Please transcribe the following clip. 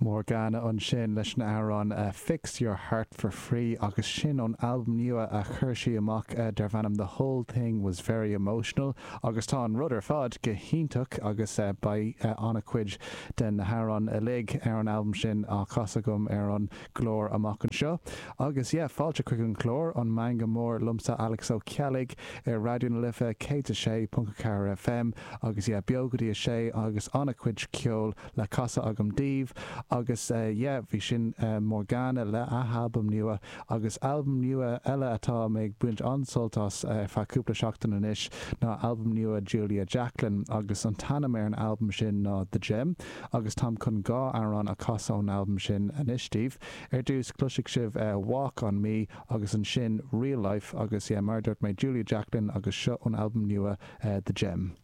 Morgana ansin leis an amhrán Fix Your Heart For Free agus sin ón albam nua a chuir sí amach darb ainm The Whole Thing Was Very Emotional agus tá an rud ar fad go hiontach agus beidh an-chuid de na hamhráin uilig ar an albam sin á chasadh agam ar an gclár amach anseo. Agus yeah, fáilte chuig an chlár, An Meangadh Mór liomsa Alex Ó Ceallaigh ar Raidió na Life 106.4 FM agus yeah, beo go dtí a sé agus an-chuid ceoil le casadh agam daoibh agus yeah bhí sin Morgana le a halbam nua agus albam nua eile atá mé ag baint an-sult as ar feadh cúpla seachtain anois ná albam nua Julia Jacklin agus an t-ainm ar an albam sin ná The Gem agus táim chun dhá amhrán a chasadh ón albam sin anois daoibh. Ar dtús cloisfidh sibh Walk On Me agus ansin Real Life agus yeah mar a dúirt mé Julia Jacklin agus seo ón albam nua The Gem.